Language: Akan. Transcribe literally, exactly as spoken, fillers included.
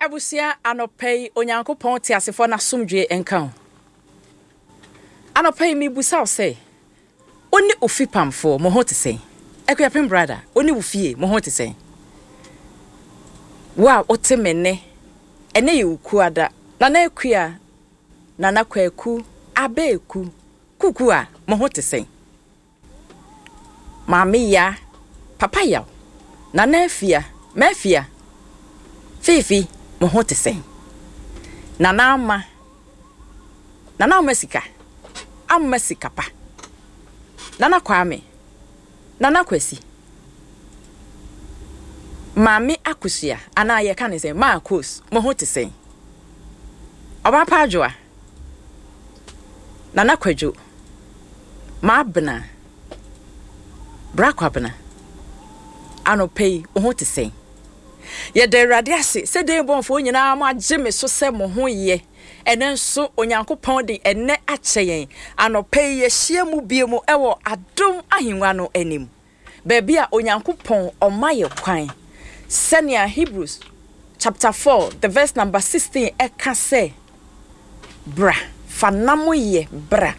Abusua, anɔpa yi Onyankopɔn teasefoɔ n'asomdwoe nka wo. Anɔpa yi mebusa wo sɛ, wo ne wo fipamfoɔ mo ho te sɛn? Akuapem brada, wo ne wo fie mo ho te sɛn? Wo a wote me nne, ɛnɛ yɛ wo kuada. Nana Akua, Nana Kwaku, Abeeku, Kuku a mo ho te sɛn? Maame Ya, Papa Yaw, Nana Afia, Mafia, Fiifi, mo ho te sɛn? Nana Ama, Nana Ama Sika, Ama Sika Pa, Nana Kwame, Nana Kwasi, Maame Akosua, anaa yɛka ne sɛ Maakos, mo ho te sɛn? Ɔbaa Pa Adwoa, Nana Kwadwo, Maabena, Bra Kwabena, anɔpa yi wo ho te sɛn? Yɛda Awurade ase sɛ den bɔnfoɔ nyinaa mo agye me so sɛ mo ho yɛ. Ɛnɛ nso Onyankopɔn de ɛnɛ akyɛ yɛn. Anɔpa yi yɛhyia mu bio mu ɛwɔ adom ahengua no anim. Baabi a Onyankopɔn ɔma yɛ kwan. Sɛnea Hebrews chapter four the verse number sixteen ɛka sɛ, bra, fa nam yɛ bra.